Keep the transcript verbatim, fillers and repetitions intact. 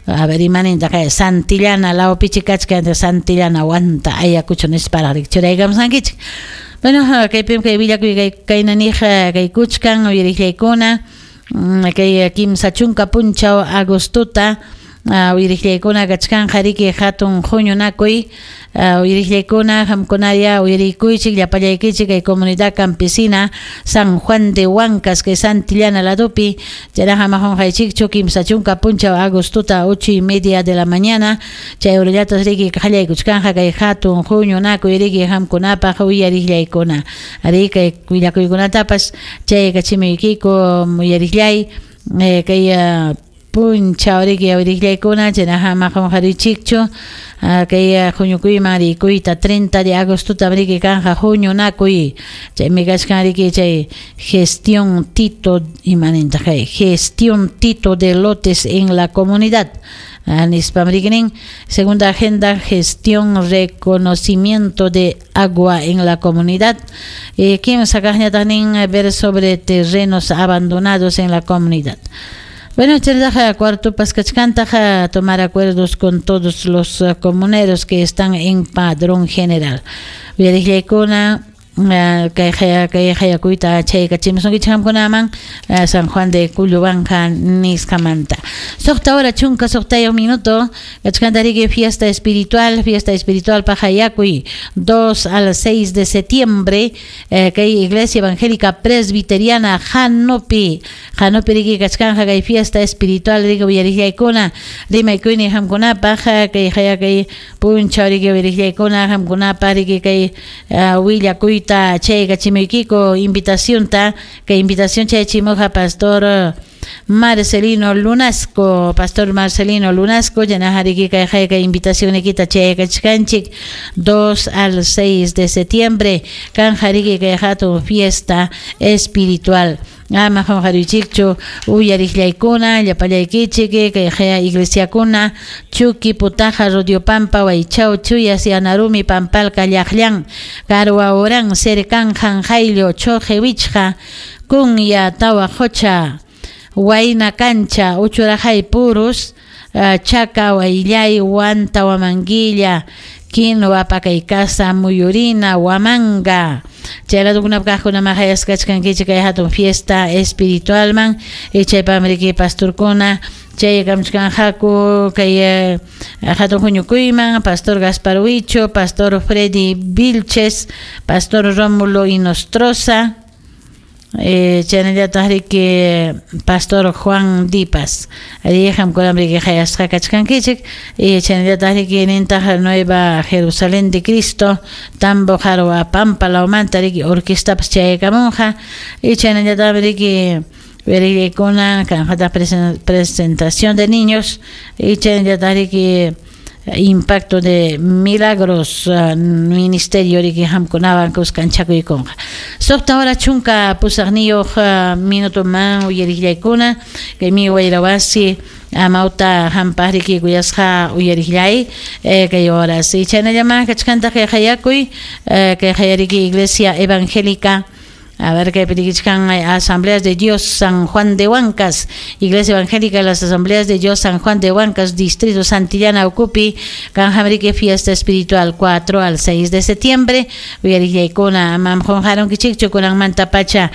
A ver, imaninta kay Santillana lawpichi kachkan Santillana Huanta Ayacucho nisparaq churaykamusqankichik. Bueno, kaypim kay willakuy kay kaynaniq kay kuchkan uyariqllaykuna kay kimsa chunka punchaw agostota uyariqllaykuna kachkanqa riki hatun huñunakuy uyariqllaykuna qamkunaya uyarikuychik llapallaykichik kay comunidad campesina San Juan de Huancas kay Santillana ladopi chayraqa maqunqaychikchu kimsa chunka punchaw agostota ocho y media de la mañana chay urallatas riki qallaykuchkanqa kay hatun huñunakuy riki qamkunapaq uyariqllaykuna ari kay willakuykunatapas chay kachimuykiku uyariqllay kay punchaw riki uyariqllaykuna chaynaqa maqunqarichikchu kay huñukuyman rikuyta treinta de agostota riki kanja huñunakuy chaymi kachkan riki chay gestión Tito imaninta kay gestión Tito de lotes en la comunidad nispam riki nin segunda agenda gestión reconocimiento de agua en la comunidad eh, kimsa kaqñataq nin ver sobre terrenos abandonados en la comunidad. Bueno, chayrataqa cuarto paskachkantaqa tomar acuerdos con todos los comuneros que están en padrón general. Uyariqllaykuna kay kay hayakuyta chaykachimusunkichik qamkunaman San Juan de Culhuacan nisqamanta. Suqta hora chunka suqtayuq minuto kachkanta riki fiesta espiritual, fiesta espiritual pajayakuy dos al seis de septiembre kay Iglesia Evangélica Presbiteriana Janopi Janopi riki kachkanja kay fiesta espiritual riki uyariqllaykuna rimaykuyni qamkunapaq kay hayakay punchaw riki uyariqllaykuna qamkunapaq riki kay willakuyta chaykachimuykiko invitación ta que invitación chaychimuqa pastor Marcelino Lunasco, pastor Marcelino Lunasco, yanajariki kay kay invitación nikita chaykachkanchik dos al seis de septiembre kanjariki kay hatun fiesta espiritual. Ama qunqarichikchu uyariqllaykuna llapallaykichik kay haya iglesiakuna Chuqui Putaja Rodiopampa Waychaw Chuyas Yanarumi Pampalka Llaqllan Karwa Oran Cercan Janjayllo Choje Wichqa Kunya Tawa Qocha Wayna Cancha Uchurajay Purus Chaca Wayllay Huanta Huamanguilla Quinoa Pakaykasa Muyurina Huamanga chay ladukunap kaqkuna maqayasqachkankichik kay hatun fiesta espiritualman chaypam riki pastorkuna chay kamchkanqaku kay hatun huñukuyman pastor Gaspar Huicho, pastor Freddy Vilches, pastor Rómulo Inostroza, eh, chaynallataq riki pastor Juan Dipas ari qamkunam riki hayasqa kachkankichik chaynallataq riki nintaq Nueva Jerusalén de Cristo Tambo Jarwa Pampa lawmanta riki orquestapas chayakamunqa y chaynallataq riki uyariqllaykuna kanqataq presentación de niños y chaynallataq riki impacto de milagros uh, ministerio riki qamkunawan kuskanchakuykunqa. Suqta hora chunka pusaqniyuq uh, minuto man uyariqllaykuna kaymi wayrawasi amawta hampaq riki kuyasqa uyariqllay eh, kay horas y chaynallaman kachkantaq kay hayakuy eh, kay hayariki Iglesia Evangélica. A ver qué pedikichkan Asambleas de Dios San Juan de Huancas, Iglesia Evangélica de las Asambleas de Dios San Juan de Huancas, Distrito Santillana Ucupi, Canjamrique Fiesta Espiritual cuatro al seis de septiembre. Uyariqllaykuna mam qunqarunkichikchu kunan manta pacha.